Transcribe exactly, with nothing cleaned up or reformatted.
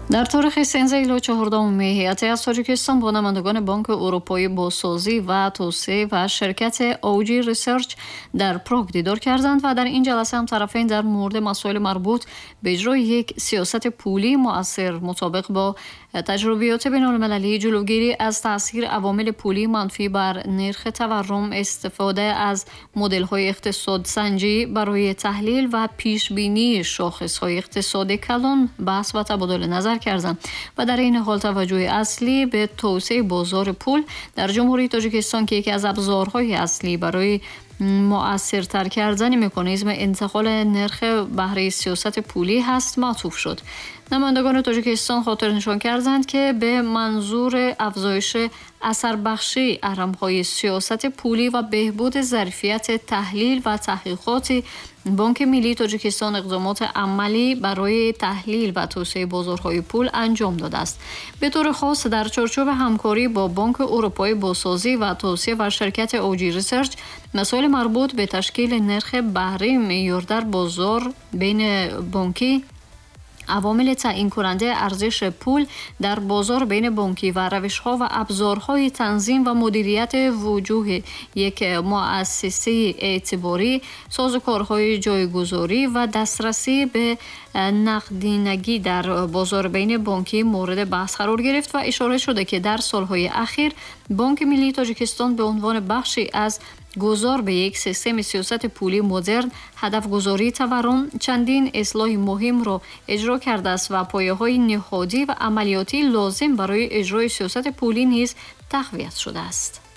Дар таърихи сездаҳ ило чордаҳум май ҳайати аз Тоҷикистон бо намояндагони Бонки Аврупоии бозсозӣ ва тавсеа ва ширкати O G Research дар Праг дидор карданд ва дар ин ҷаласа ҳам тарафайн дар мавриди масоили марбут ба иҷрои як сиёсати пулии муассир мутобиқ бо таҷрибиёти байналмилалӣ, ҷилавгирӣ аз таъсири авомили пулии манфӣ бар нирхи таваррум, истифода аз моделҳои иқтисодсанҷӣ барои таҳлил ва пешбинии шохисҳои иқтисоди калон баҳс ва табодули назар карданд ва дар ин ҳол таваҷҷӯҳи аслӣ ба тавсеаи бозори пул дар Ҷумҳурии Тоҷикистон, ки яке аз абзорҳои аслӣ барои муассиртар кардани механизми интиқоли нирхи баҳраи сиёсати пулӣ ҳаст, маътуф шуд. Намояндагони Тоҷикистон хотирнишон карданд, ки ба манзури афзоиши асарбахшии аҳрамҳои сиёсати пулӣ ва беҳбуди зарфияти таҳлил ва таҳқиқоти Бонки Миллии Тоҷикистон иқдомоти амалӣ барои таҳлил ва тавсеаи бозорҳои пул анҷом додааст. Ба таври хос, дар чорчӯби ҳамкорӣ бо Бонки Аврупоии бозсозӣ ва тавсеа ва ширкати O G Research масоили марбут ба ташкили нирхи баҳраи меъёр дар бозор байни бонкӣ, авомили таъйинкунандаи арзиши пул дар бозор байни бонкӣ ва равишҳо ва абзорҳои танзим ва мудирияти вуҷуҳи як муассисаи эътиборӣ, созукорҳои ҷойгузорӣ ва дастрасӣ ба нақдинагӣ дар бозор байни бонкӣ мавриди баҳс қарор гирифт ва ишора шуда, ки дар солҳои ахир Бонки Миллии Тоҷикистон ба унвони бахше аз гузор ба як системи сиёсати пулии модерн, ҳадафгузории таваррум, чандин ислоҳи муҳимро иҷро кардааст ва пояҳои ниҳодӣ ва амалиётии лозим барои иҷрои сиёсати пулӣ низ тақвият шудааст.